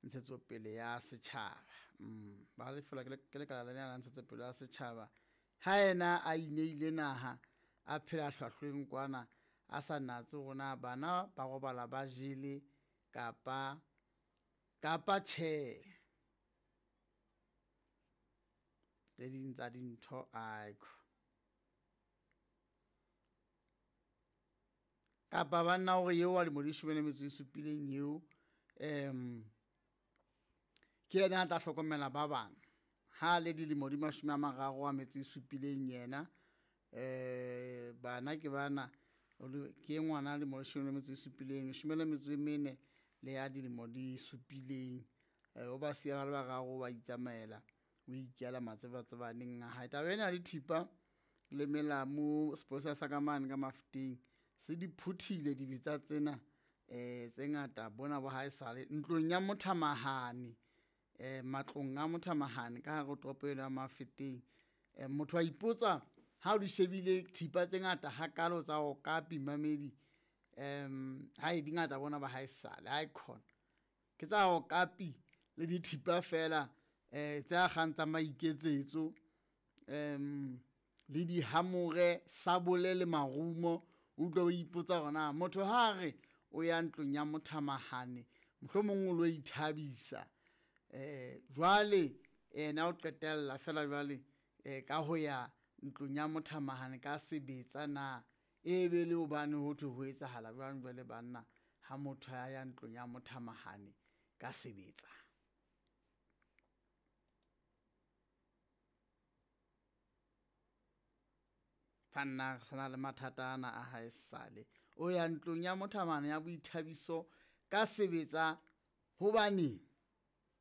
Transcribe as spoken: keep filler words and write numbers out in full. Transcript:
Ntshetsopele ya Setjhaba. Mm, ba lefelwa ke lekala lena la Ntshetsopele ya Setjhaba. Ha yena a ineile naha, a phela hlwahlweng kwana, a sa natse hore na bana ba robala ba jele kapa kapa tjhe. Tse ding tsa dintho aiko. Kapa banna hore eo wa lemo di leshome le metso e supileng eo um ke yena a tla hlokomela ba bang ha le dilemo di mashome a mararo a metso e supileng yena um bana ke bana ke ngwana lemo leshome le metso e supileng leshome le metso e mene le ya dilemo di supileng. O ba siya ba le bararo ba itsamaela o ikela matsebatsebaneng a hae. Taba ena ya dithipa le melamu sepolesa sa ka mane ka Mafeteng se di phuthile dibetsa tsena um tse ngata bona bo ha esale ntlong ya mothamahane um matlong a mothamahane ka hare ho toropo eno ya Mafeteng. Um motho a ipotsa ha o di shebile thipa tse ngata hakalo tsa okapi mamedi um hai di ngata bona ba ha esale haekhona ke tsa okapi le dithipa fela um tse akgang tsa maiketsetso um le dihamore sabole le marumo. O utlwa o ipotsa hore na motho ha re o ya ntlong ya mothamahane mohlomong o lo ithabisa um jwale yena o qetella fela jwale um ka ho ya ntlong ya mothamahane ka sebetsa na e be le hobane ho thwe ho etsahala jwang jwale banna ha motho a ya ntlong ya mothamahane ka sebetsa. Banna re sana le mathata ana a hae sale o ya ntlong ya mothamahane ya boithabiso ka sebetsa hobaneng.